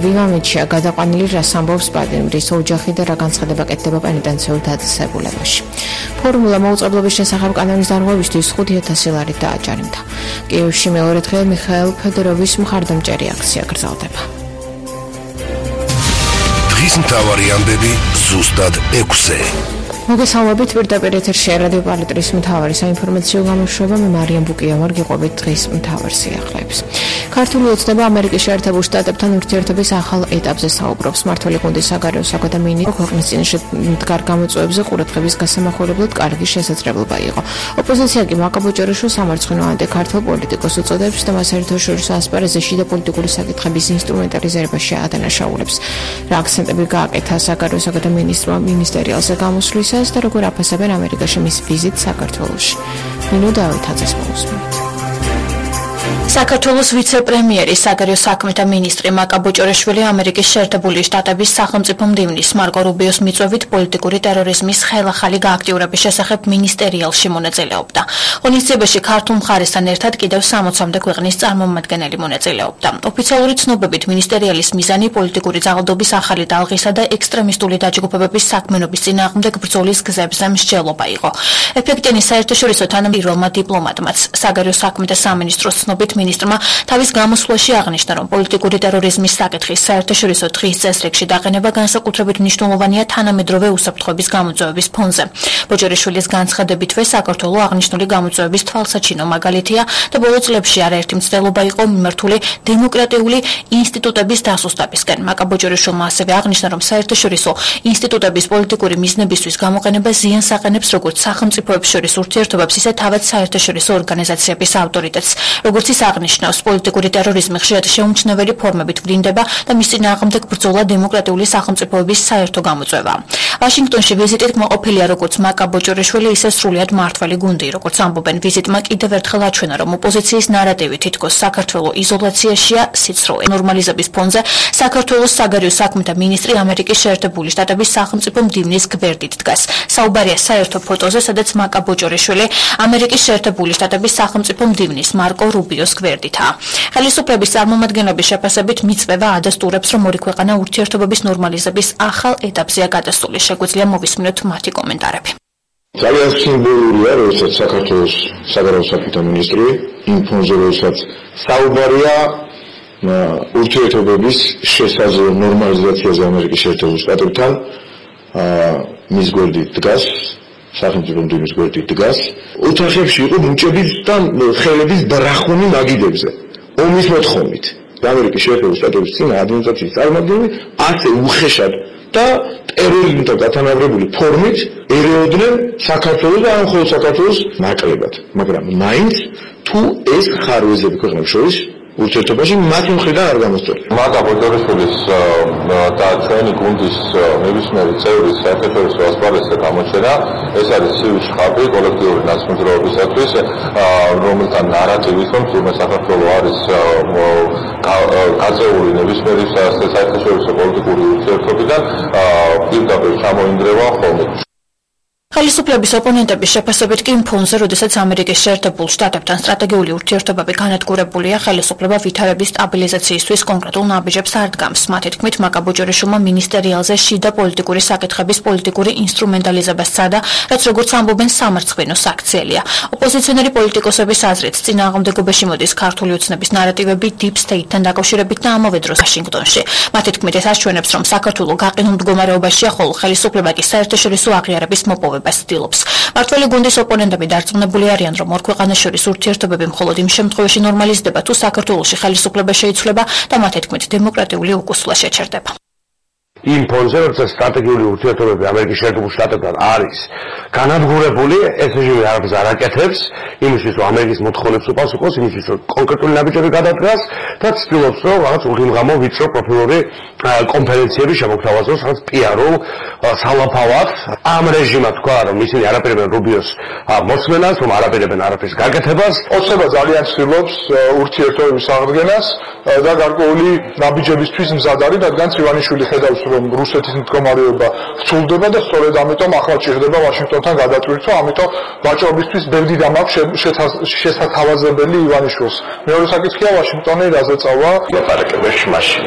ვიმამეთშია გადაყვანილი, რას ამბობს პატიმ, რის ოჯახი და რა განცხადება კეთდება პენიტენციურ დაწესებულებაში. ფორმულა მოუწყებლობის შესახებ კანონის დარღვევისთვის 5,000 ლარით დააჯარიმდა. კიევში მეორე დღე მიხაილ ფედოროვის მხარდამჭერი აქცია გრძელდება. დღის მთავარი ამბები ზუსტად 6-ზე. მოგესალმებით, პირდაპირ ეთერში რადიო პალიტრის მთავარი საინფორმაციო გამოშვება, მე მარიამ ბუკია ვარგიყვებით დღის მთავარ სიახლეებს. ქართული ოცნება ამერიკის შეერთებულ შტატებთან ურთიერთობის ახალ ეტაპზე საუბრობს. მმართველი გუნდის საგარეო საქმეთა მინისტრი ქვეყნის წინაშე მდგარ გამოწვევებზე ყურადღების გასამახვილებლად კარგი შესაძლებლობა იყო. ოპოზიცია კი მაკაბოჭორიშვილს სამარცხვინო ანტიქართულ პოლიტიკოს უწოდებს და მას საერთაშორისო ასპარეზზე შიდა პოლიტიკური საკითხების ინსტრუმენტალიზებაში ადანაშაულებს. რა აქცენტები გააკეთა საგარეო საქმეთა მინისტრმა მინისტერიალზე გამოსვლისა და როგორ აფასებენ ამერიკაში მის ვიზიტს საქართველოში. ნინო დავითაძეს მოусმინეთ. საქართველოს ვიცე-პრემიერი საგარეო საქმეთა მინისტრი მაკაბოჭორიშვილი ამერიკის შეერთებული შტატების სახელმწიფო მდივნის მარკო რუბიოს მიწვევით პოლიტიკური ტერორიზმის ხელახალი გააქტიურების შესახებ მინისტერიალში მონაწილეობდა. ღონისძიებაში ქართულ მხარესთან ერთად კიდევ 60-მდე ქვეყნის წარმომადგენელი მონაწილეობდა. ოფიციალური ცნობებით მინისტერიალის მიზანი პოლიტიკური ძალადობის ახალი ტალღისა და ექსტრემისტული დაჯგუფებების საქმიანობის წინააღმდეგ ბრძოლის გზებზე მსჯელობა იყო. ეფექტიანი საერთაშორისო თანამედროვე დიპლომატმაც საგარეო საქმეთა სამინისტროს ცნობით მინისტრმა თავის გამოსვლაში აღნიშნა, რომ პოლიტიკური ტერორიზმის საკითხის საერთაშორისო დღის წესრიგში დაყენება განსაკუთრებით მნიშვნელოვანია თანამედროვე უსაფრთხოების გამოწვევების ფონზე. ბოჭორიშვილის განცხადებითვე საქართველოს აღნიშნული გამოწვევების თვალსაჩინო მაგალითია და ბოლო წლებში არაერთი მცდელობა იყო მიმართული დემოკრატიული ინსტიტუტების დასუსტებისკენ. მაკაბოჭორიშვილმა ასევე აღნიშნა, რომ საერთაშორისო ინსტიტუტების პოლიტიკური მიზნებისთვის გამოყენება ზიანს აყენებს როგორც სახელმწიფოებს შორის ურთიერთობებს, ისე თავად საერთაშორისო ორგანიზაციების ავტორიტეტს. როგორც ის აღნიშნავს, პოლიტიკური ტერორიზმი ხშირად შეუმჩნეველი ფორმებით ვლინდება და მის წინააღმდეგ ბრძოლა დემოკრატიული სახელმწიფოების საერთო გამოწვევაა. ვაშინგტონში ვიზიტით მოყოფილია როგორც მაკაბოჭორიშვილი, ისე სრულიად მმართველი გუნდი. როგორც ამბობენ, ვიზიტმა კიდევ ერთხელ აჩვენა, რომ ოპოზიციის ნარატივი თითქოს საქართველოს იზოლაციაშია სიცრუე. ნორმალიზების ფონზე საქართველოს საგარეო საქმეთა მინისტრი ამერიკის შეერთებული შტატების სახელმწიფო მდივნის გვერდით დგას. საუბარია საერთო ფოტოზე, სადაც მაკაბოჭორიშვილი ამერიკის შეერთებული შტატების სახელმწიფო მდივნის მარკო რუბიოს გვერდითაა. ხელისუფლების წარმომადგენლების შეფასებით მიწვევა ადასტურებს, რომ ორი ქვეყანა ურთიერთობების ნორმალიზების ახალ ეტაპზეა გადასული. შეგვიძლია მოვისმინოთ მათი კომენტარები. ძალიან სიმბოლურია, როდესაც საქართველოს საგარეო საქმეთა მინისტრი იმ ფონზე, როდესაც საუბარია ურთიერთობების შესაძლო ნორმალიზაციაზე ამერიკის შეერთებულ შტატებთან, მის გვერდით დგას, სახელმწიფო მდივნის გვერდით დგას. ოთახებში იყო მუჭების და ხელების ბრახუნი მაგიდებზე. ომის მოთხოვნით. ამერიკის შეერთებულ შტატების წინა ადმინისტრაციის წარმომადგენლები ასე უხეშად და ტერორიზმთან გათანაბრებული ფორმით ერეოდნენ საქართველოს და მხოლოდ საქართველოს ნაკლებად. მაგრამ მაინც თუ ეს ხარვეზები ქვეყნებს შორის ურთიერთობაში მათი მხრიდან არ გამოსწორდა. მაკაბოჭორიშვილის და ჩვენი გუნდის ნებისმიერი წევრის საერთაშორისო ასპარეზზე გამოჩენა, ეს არის ცივი შხაპი კოლექტიური ნაცნობრობისათვის, რომელთან ნარატივის, რომ თურმე საქართველოს არის გაწეული ნებისმიერი საერთაშორისო პოლიტიკური ურთიერთობიდან პირდაპირ ჩამოინდრევა ხოლმე. ხელისუფლების ოპონენტების შეფასებით კი ფონზე, როდესაც ამერიკის შეერთებულ შტატებთან სტრატეგიული ურთიერთობები განადგურებულია, ხელისუფლება ვითარების სტაბილიზაციისთვის კონკრეტულ ნაბიჯებს არ დგამს. მათი თქმით, მაკაბოჭორიშვილმა მინისტერიალზე შიდა პოლიტიკური საკითხების პოლიტიკური ინსტრუმენტალიზება სცადა, რაც როგორც ამბობენ სამარცხვინო საქციელია. ოპოზიციონერი პოლიტიკოსების აზრით, წინააღმდეგობაში მოდის ქართული ოცნების ნარატივები deep state-თან დაკავშირებით და ამავე დროს ვაშინგტონში. მათი თქმით, ეს აჩვენებს, რომ საქართველოს გაყინულ მდგომარეობაშია, ხოლო ხელისუფლება კი საერთაშორისო აღიარების მოპოვებას ცდილობს. მმართველი გუნდის ოპონენტები დარწმუნებული არიან, რომ ორ ქვეყანას შორის ურთიერთობები მხოლოდ იმ შემთხვევაში ნორმალიზდება, თუ საქართველოში ხელისუფლება შეიცვლება და მათი თქმით დემოკრატიული უკუსვლა შეჩერდება. იმ ფონზე, როდესაც სტრატეგიული ურთიერთობები ამერიკის შეერთებულ შტატებთან არის განადგურებული, ეს რეჟიმი არაფერს არ აკეთებს, იმისთვის რომ ამერიკის მოთხოვნებს უპასუხოს, იმისთვის რომ კონკრეტული ნაბიჯები გადადგას და ცდილობს რომ რაღაც უღიმღამო ვიწრო პროფილური კონფერენციები შემოგთავაზოს, რაღაც პიარულ სალაფავად. ამ რეჟიმმა თქვა, რომ ისინი არაპირებენ რუბიოს მოსმენას, რომ არაპირებენ არაფერს გაკეთებას. ოცნება ძალიან ცდილობს ურთიერთობების აღდგენას და გარკვეული ნაბიჯებისთვის მზად არის, რადგან ივანიშვილი ხედავს, რომ რუსეთის მდგომარეობა ცვლდება და სწორედ ამიტომ ახლა ჭირდება ვაშინგტონთან გადატვირთვა, ამიტომ ვაჭრობისთვის ბევრი დამ აქვს შესათავაზებელი ივანიშვილს. მეორე საკითხია ვაშინგტონი რაზე წავა? ლაპარაკებაში მაშინ